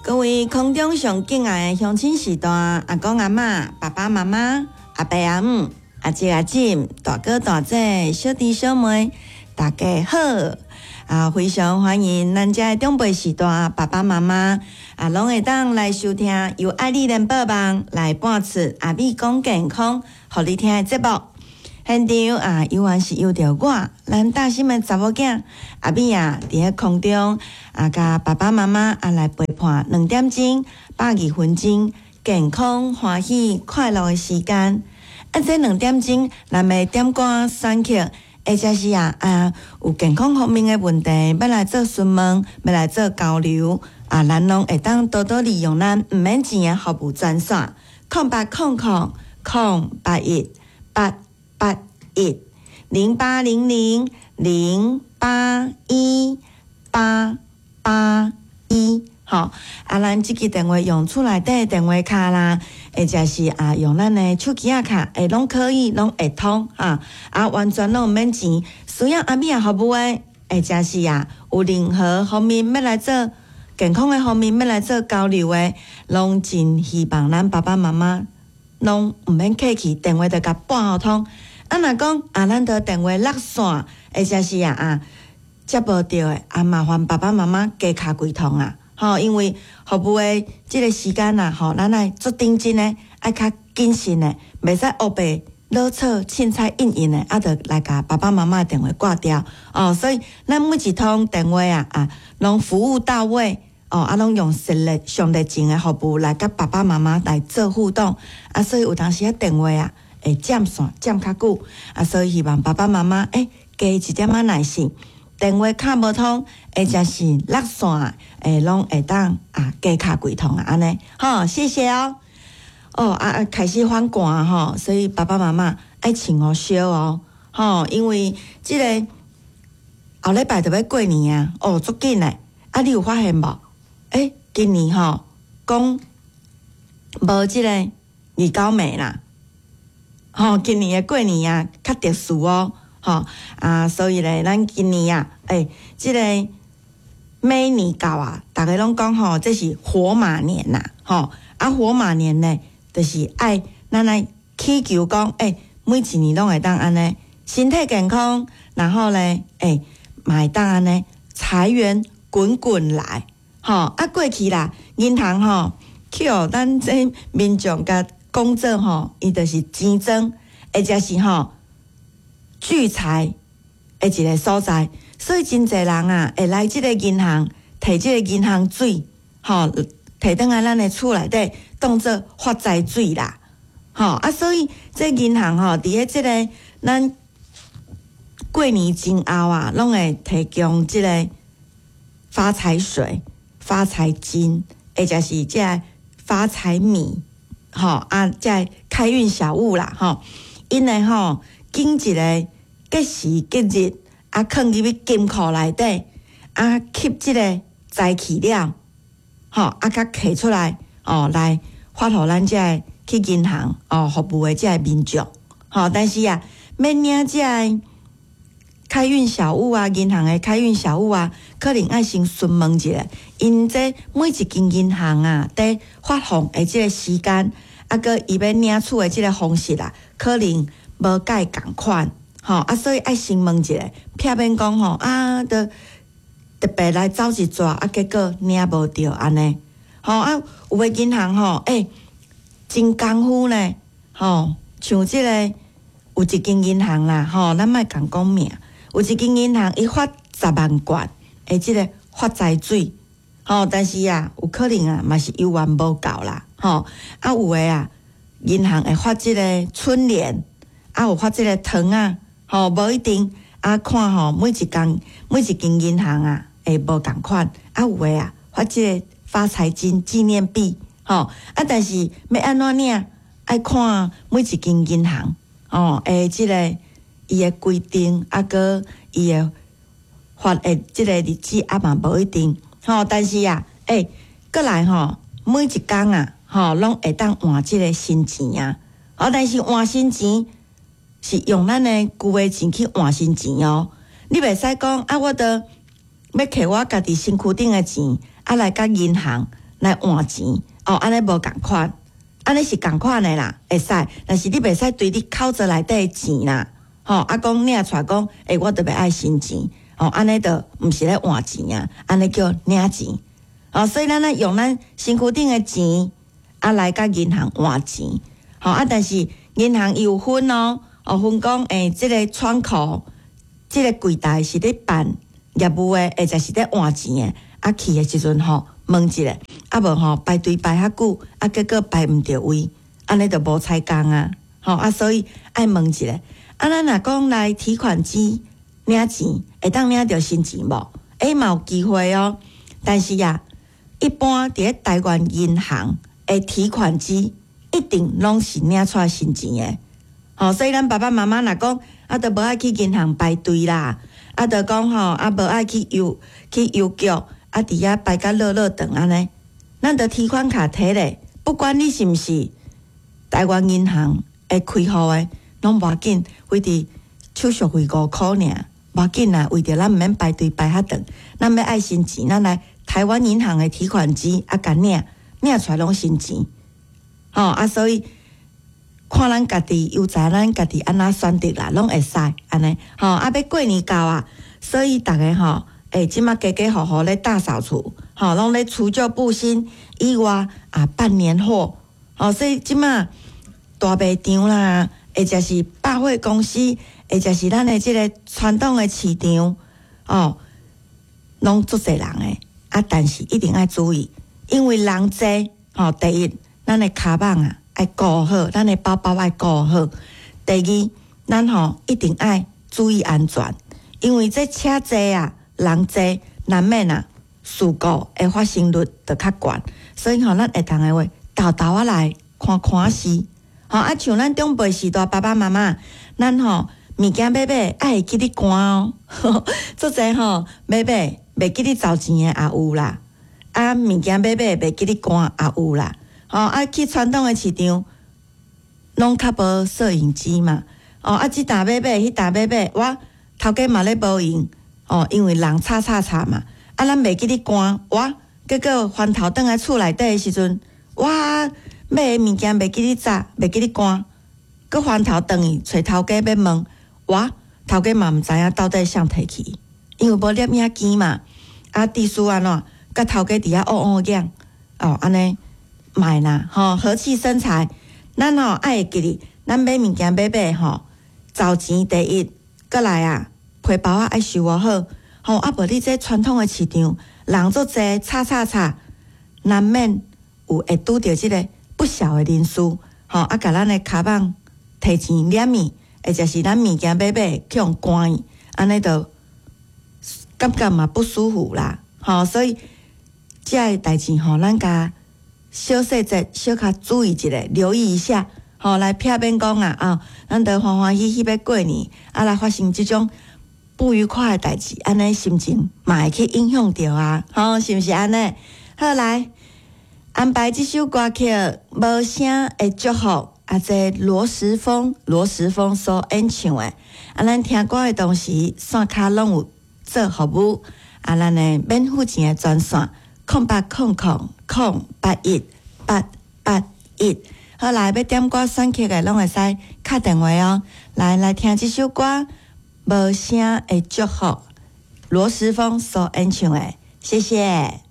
各位空中上敬愛的鄉親序大，阿公阿嬤、爸爸媽媽、阿伯阿姆、阿姐阿姊、大哥大姐、小弟小妹，大家好！啊，非常歡迎咱遮的長輩序大，爸爸媽媽啊，攏會當來收聽由愛麗聯播網來播出阿美講健康，予你聽的節目。現場啊，猶原是由著我，咱大心的查某囝阿美啊，佇咧空中啊，佮爸爸媽媽啊來陪伴2點鐘120分鐘健康、歡喜、快樂的時間。啊，這兩點鐘，咱欲點歌選曲，或者是啊有健康方面的問題，欲來做詢問，欲來做交流啊，咱攏會當多多利用咱毋免錢的服務專線，0800 081 881，0800081881。吼，啊，咱這支電話用厝內底電話卡啦，或者是啊用咱的手機仔卡，會攏可以，攏會通哈。啊，完全攏毋免錢，需要阿美仔服務的，或者是啊有任何方面欲來做健康的方面欲來做交流的，攏真希望咱爸爸媽媽攏毋免客氣，電話就共撥予通。啊，若講啊，咱著電話落線，或者是啊接無著的，啊麻煩爸爸媽媽加敲幾通啊。吼，因為服務的這個時間啊，吼，咱愛足認真的，愛較謹慎的，袂使烏白囉嗦、凊彩應應的，啊，就來共爸爸媽媽的電話掛掉哦。所以，咱每一通電話啊，啊，攏服務到位哦，啊，攏用實力、上熱情的服務來佮爸爸媽媽來做互動啊。所以有當時仔電話啊，會佔線佔較久啊，所以希望爸爸媽媽欸加一點仔耐心。電話敲無通，或者是落線，會攏會當啊加敲幾通啊，按呢，好，謝謝哦。哦啊啊，開始反寒吼，所以爸爸媽媽愛穿予少哦，吼，因為這個後禮拜就欲過年啊，哦，足緊的，啊，你有發現無？欸，今年吼講無這個二九暝啦，吼，今年的過年啊較特殊哦。吼啊，所以咧，咱今年啊，欸，這個馬年到啊，逐家攏講吼，這是火馬年啦，吼啊，火馬年呢，就是愛咱來祈求講，欸，每一年攏會當按呢，身體健康，然後咧，欸，嘛會當按呢，財源滾滾來，吼啊，過去啦，銀行吼，去予咱這民眾共講做吼，伊就是錢莊，或者是吼，聚財的一個所在，所以真濟人啊會來這個銀行提這個銀行水，吼，提轉來咱的厝內底當做發財水啦，吼啊，所以這銀行吼，佇咧這個咱過年前後啊，攏會提供這個發財水、發財金，或者是這個發財米，吼啊，這個開運小物啦，吼，𪜶會吼。揀一個吉時吉日，啊，囥入去金庫內底，啊，吸這個財氣了，吼，啊，閣提出來，哦，來發予咱這個去銀行哦服務的這個民眾，吼，但是啊，欲領這個開運小物啊，銀行的開運小物啊，可能愛先詢問一下，𪜶這每一間銀行啊，佇發放的這個時間，啊，閣伊欲領取的這個方式啊，可能無蓋仝款，吼啊，所以愛先問一下，避免講吼啊，著特別來走一逝，啊，結果領無著按呢，吼啊，有的銀行吼，欸，真功夫呢，吼，像這個有一間銀行啦，吼，咱莫共講名，有一間銀行伊發10萬罐的這個發財水，吼，但是啊，有可能啊，嘛是猶原無夠啦，吼，啊，有的啊，銀行會發這個春聯。啊，有發這個糖仔，吼，無一定啊，看吼，每一間每一間銀行啊，會無仝款，啊，有的啊，發這個發財金紀念幣，吼，啊，但是欲按怎領，愛看每一間銀行，吼，的這個伊的規定，啊，閣伊的發的這個日子啊嘛無一定，吼，但是啊，欸，閣來吼，每一工啊，吼，攏會當換這個新錢啊，哦，但是換新錢。是用咱的舊的錢去換新錢哦，你袂使講啊，我著欲提我家己身軀頂的錢啊來佮銀行來來換錢，哦，按呢無仝款，按呢是仝款的啦，會使，但是你袂使對你口座內底的錢啦，吼，啊講領出來講，欸，我特別愛新錢，哦，按呢就毋是咧換錢啊，按呢叫領錢，哦，所以咱愛用咱身軀頂的錢，啊來佮銀行換錢，吼啊，但是銀行伊有分哦，哦分講，欸，這个窗口，這个櫃台是咧辦業務的，或者是咧換錢的，啊去的時陣吼問一下，啊無吼排隊排較久，啊結果排毋著位，按呢就無彩工啊，吼啊所以愛問一下。啊咱若講來提款機領錢，會當領著新錢無？欸嘛有機會哦，但是啊，一般佇咧台灣銀行的提款機一定攏是領出來新錢的。吼，所以咱爸爸媽媽若講啊，都無愛去銀行排隊啦，啊，就講吼啊，無愛去郵局，啊，佇遐排甲落落長按呢，咱就提款卡提咧，不管你是毋是台灣銀行會開戶的，攏無要緊，非佇手續費5箍爾，無要緊啦。為著咱毋免排隊排較長，咱欲愛新錢，咱來台灣銀行的提款機啊，共領領出來攏新錢，吼啊，所以看咱家己有才，咱家己按怎選擇啦，攏會使按呢，吼啊，欲過年到啊，所以逐家吼，欸，這馬家家戶戶咧大掃除，吼，攏咧除舊佈新以外啊，辦年貨，吼，所以這馬大賣場啦，或者是百貨公司，或者是咱的這个傳統的市場，哦，攏足濟人的，啊，但是一定愛注意，因為人濟，吼，第一，咱的跤蠓啊愛顧好，咱的包包愛顧好。第二，咱吼一定愛注意安全，因為這車濟啊，人濟，難免啊事故的發生率就較懸，所以吼，咱會當的話，沓沓仔來看看勢。吼啊，像咱長輩時代爸爸媽媽，咱吼物件買買愛會記得關哦，足濟吼買買袂記得找錢的也有啦，啊物件買買袂記得關也有啦。吼啊去傳統的市場，攏較無攝影機嘛。哦啊，這沓買買，彼沓買買，哇頭家嘛咧無閒，哦，因為人吵吵吵嘛，啊咱袂記得關，哇結果翻頭轉來厝內底的時陣，哇買的物件袂記得紮，袂記得關，閣翻頭轉去揣頭家欲問，哇頭家嘛毋知影到底誰提去，因為無攝影機嘛，啊地主按怎，佮頭家佇遐烏烏講，哦按呢莫啦，吼和氣生財，咱吼愛會記得，咱買物件買買吼，找錢第一，閣來啊，皮包仔愛收好，吼啊無你這傳統的市場，人足濟，吵吵吵，難免有會拄著這个不肖的人士，吼啊，共咱的跤蠓提錢掠去，或者是咱物件買買去予關去，按呢就感覺嘛不舒服啦，吼，所以這个代誌吼，咱共小細節小可注意一下，留意一下，吼，來避免講啊，啊，咱都歡歡喜喜欲過年，啊，來發生這種不愉快的代誌，按呢心情嘛會去影響著啊，吼，是毋是按呢？好來，安排這首歌曲《無聲的祝福》，啊，這羅時豐，羅時豐所演唱的，啊，咱聽歌的同時，線跤攏有做服務，啊，咱的免付錢的專線0800 081 881。好來，欲點歌選曲的，攏會使敲電話哦。來來聽這首歌《無聲的祝福》，羅時豐所演唱的，謝謝。